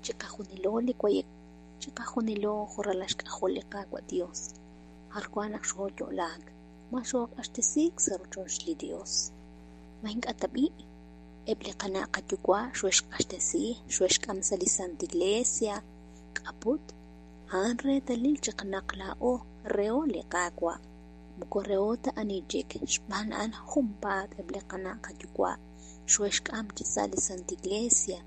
Chiqajunilo li wayek, chiqajunilo jo' ralal xk'ajol li Qaawa' Dios, jar wan naq xooyo'laak, ma xooq'axtesiik sa' rochoch li Dios. Ma ink'a' tab'i'? Eb' li qana' qayuwa' xoexq'axtesi, xoexk'am sa' li Santa Iglesia. K'aput, a'an reetalil chaq naq laa'o reho li Qaawa', moko reho ta ani chik, xb'aan a'an junpaat eb' li qana' qayuwa' xoexk'am chi sa' li Santa Iglesia,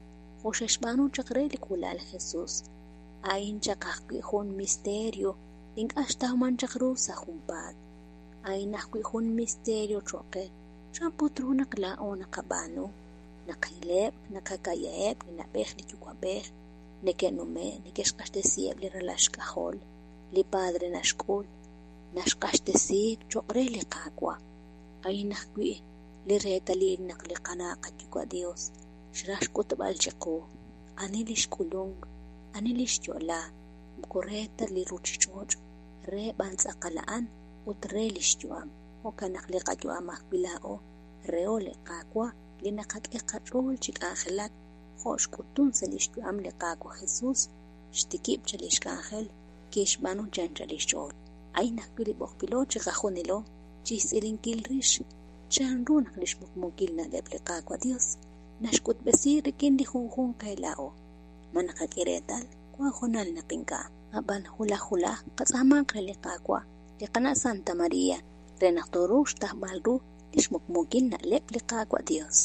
jo' xe'xb'aanu chaq re li k'uula'al Jesus. A'in chaq ajwi' jun misterio ink'a' xtawman chaq ru sa' junpaat. A'in ajwi' jun misterio cho'q qe, chan put ru naq laa'o naqab'aanu, naqileb', naqaka'yaheb' li na'b'ej li yuwa'b'ej, neke'nume', neke'xq'axtesiheb' li ralal xk'ajol, li padre naxk'ul, naxq'axtesi cho'q re li Qaawa'. A'in ajwi' li reetalil naq li qana' qayuwa' Dios xraj xk'utb'al chiqu ani li xk'ulunk, ani li xyo'la, moko re ta li ruchich'och', re b'an tz'aqal a'an ut re li xyu'am. Jo'kan naq li qayu'am ajwi' laa'o reho li Qaawa' li naqak'e qach'ool chi k'anjelak jo' xk'utun sa' li xyu'am li Qaawa' Jesus, xtikib' chaq li xk'anjel kixb'aanu chi anchal li xch'ool. A'in ajwi' li b'oqb'ilo chiqajunilo chixtz'ilinkil rix chanru naq li xmuqmuukil na'leb' li Qaawa' Dios naxk'utb'esi rik'in li junjunq qe laa'o. Ma naqak'e reetal wan hoonal naq ink'a'. Ab'an wulaj wulaj qatz'aamanq re li Qaawa', li qana' Santa Maria, re naq tooruuq xtawb'al ru li xmuqmuukil na'leb' li Qaawa' Dios.